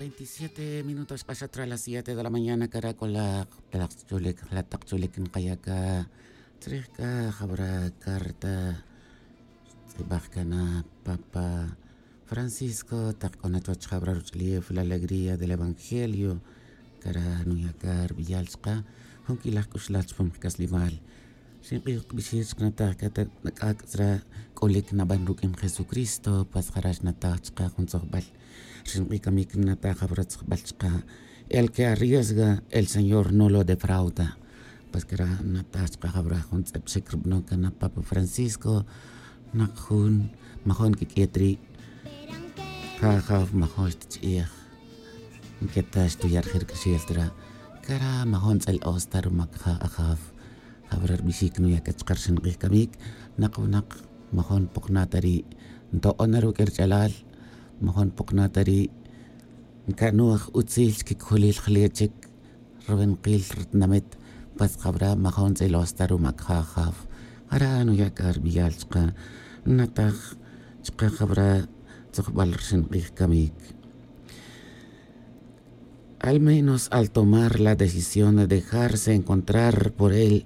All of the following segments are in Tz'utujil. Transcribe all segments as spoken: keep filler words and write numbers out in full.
Veintisiete minutos xk'axat ra las siete de la mañana, cara' c'o la tak chulic, la tak chulic nkaya' ca chrij c'a jawra carta xtz'ibaj ca na papa Francisco, tak c'o na chuwech jawra ruch'ulef la alegría del evangelio. Cara' nuya' ca rbiyal chka jun c'ilaj c'uxlal chupam kac'aslemal. Ri nk'ij kbixir chka nataj ca ta nak'ac' tzra c'ulic naban ruq'uin Jesucristo, pues jara' xnataj chka jun tzojbal. Ri nk'ij camic nataj jawra tzojbal chka: El que arriesga, el Señor no lo defrauda. Pues cara' nataj chka jawra jun tz'eb xic rubanon ca na papa Francisco, nak jun majun quiq'uiy ta ri'. Ja ajaw majun xtichi'ej. Nqueta xtuya' rije' ruc'axel ta ra'. Cara' majun tz'il-os ta rumac ja ajaw. Jawra rbixic nuya' c'a chka rxin k'ij camic, nak winak majun npokna' ta ri', nto'on na ruq'uin ruch'alal, majun npokna' ta ri', nca'nuj utzil chiquicojolil jle' chic ruwinakil rutinamit. Pues jawra majun tz'il-os ta rumac ja ajaw. Jara' nuya' c'a rbiyal chka, nataj chka jawra tzojbal rxin k'ij camic. Al menos al tomar la decisión de dejarse encontrar por él,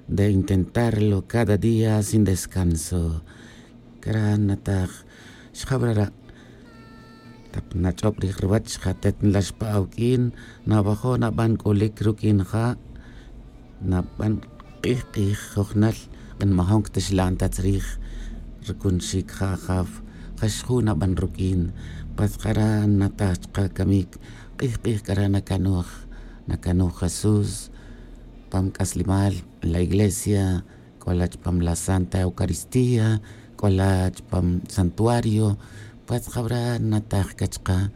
de intentarlo cada día sin descanso. Cara' nataj xjaw ra' ra'. Tak nach'ob rij ruwech, ja atet nlax pa awuq'uin, nawajo' naban c'ulic ruq'uin ja, naban k'ij k'ij jujnal, kan majun ctixlan ta tzrij rucunxic ja ajaw, ja xju' naban ruq'uin. Pues jara' nataj chka camic, k'ij k'ij c'ara' nacanuj, nacanuj Jesús pam c'aslemal, la iglesia, c'o la chupam la Santa Eucaristía, c'o la chupam santuario. Pues jawra nataj ca chka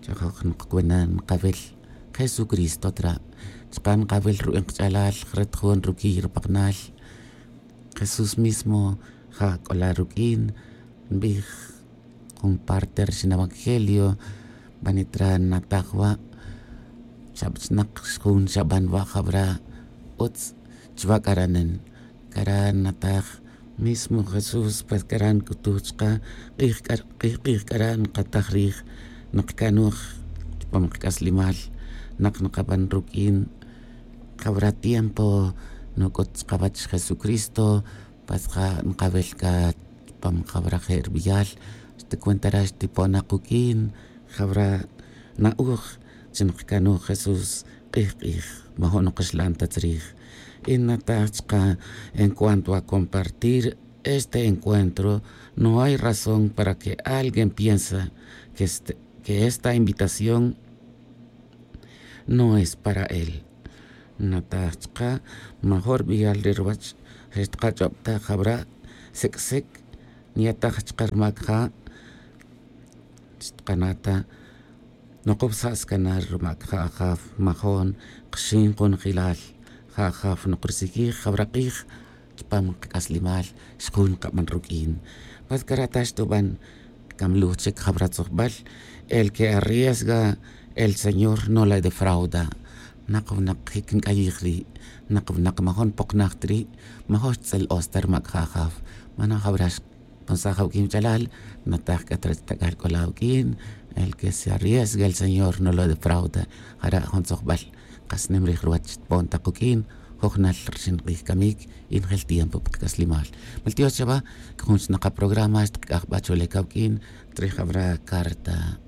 chajoj nkacana nkawil Jesucristo ta ra', chka nkawil ruwin kach'alal, jret jun ruquiy rupaknal. Jesús mismo ja c'o la ruq'uin, nbij jun parte rxin evangelio, banit ra' nataj wa', xabch'nak jun xaban wa', jawra utz chuwa' c'ara' nen. Cara' nataj mismo Jesús, pues cara' nc'utuj chka, k'ij k'ij k'ara' nkataj rij, nkacanuj chupam kac'aslemal, nak nkaban ruq'uin. Jawra tiempo nuc'ut chkawech Jesucristo, pues ja nkawil c'a chupam jawra je' rbiyal, xticuenta ra xtipon na kuq'uin. Jawra na'oj chi nkacanuj Jesús k'ij k'ij, majun nkaxlan ta tzrij. Y nataj chka, en cuanto a compartir este encuentro, no hay razón para que alguien piensa que este, que esta invitación no es para él. Nataj chka, majun rbiyal ri ruwech, je' xtkach'ob ta jawra, sic' sic' nyataj chka rumac ja, xtkana' ta, nukubsa' scanar rumac ja ajaw, majun kxin kunjelal ja ajaw nukrusijij jawra k'ij chupam kac'aslemal, xju' nkaban ruq'uin. Pues cara' ta xtuban, camluj chic jawra tzojbal: El que arriesga, el Señor no le defrauda. Nak winak jic nc'ayij ri', nak winak majun npoknaj ta ri', majun xtz'il-os ta rumac ja ajaw. Mana jawra xponsaj awuq'uin wach'alal, nataj c'a ta rech tac'al c'o la awuq'uin: El que se arriesga, el Señor no lo defrauda. Jara' jun tzojbal kas nim rij ruwech xtpon ta kuq'uin, jujnal rxin k'ij camic, y njel tiempo pa kac'aslemal. Mal tiox chawa, c'a jun xnak aprograma xtkac'aj ba chule cawuq'uin, trij awra carta.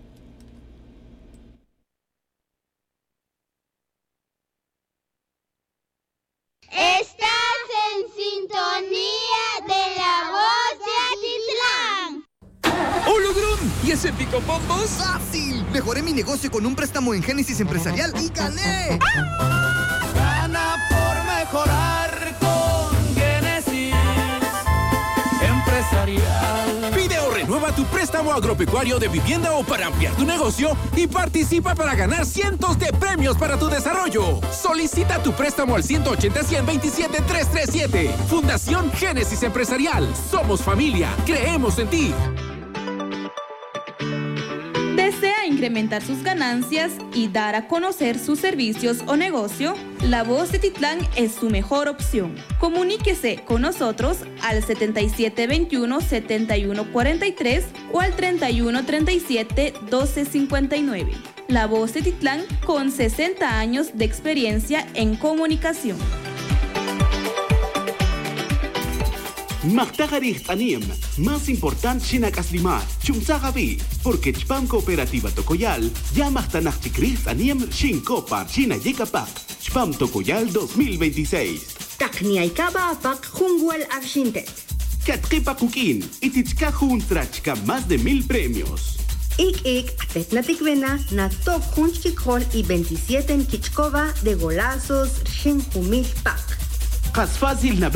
Estás en sintonía de la voz de Atitlán. ¡Ulugrun! ¿Y ese pico bombos? ¡Fácil! Mejoré mi negocio con un préstamo en Génesis Empresarial y gané. Gana por mejorar con Génesis Empresarial. Pide o renueva tu préstamo agropecuario, de vivienda o para ampliar tu negocio y participa para ganar cientos de premios para tu desarrollo. Solicita tu préstamo al ciento ochenta, cien veintisiete, tres tres siete. Fundación Génesis Empresarial. Somos familia. Creemos en ti. ¿Desea incrementar sus ganancias y dar a conocer sus servicios o negocio? La Voz de Titlán es su mejor opción. Comuníquese con nosotros al setenta y siete veintiuno, setenta y uno cuarenta y tres o al treinta y uno, treinta y siete, doce cincuenta y nueve. La Voz de Titlán, con sesenta años de experiencia en comunicación. Majtaj arij tz'anem más importante xinac'aslimal, chumsaj awi', porque chpam cooperativa Tocoyal ya majtanaj chic rij tz'anem xincop pa rxinayic apak chpam Tocoyal dos mil veintiséis. Tak niay caba apak jun wal arxintet. Catke pa kuq'uin y tichcaj jun tzra chca más de mil premios. Ic' ic' atet naticwena natoc jun chiquicojol y veintisiete nquich'coba de golazos rxin jumil pak. Kas fácil na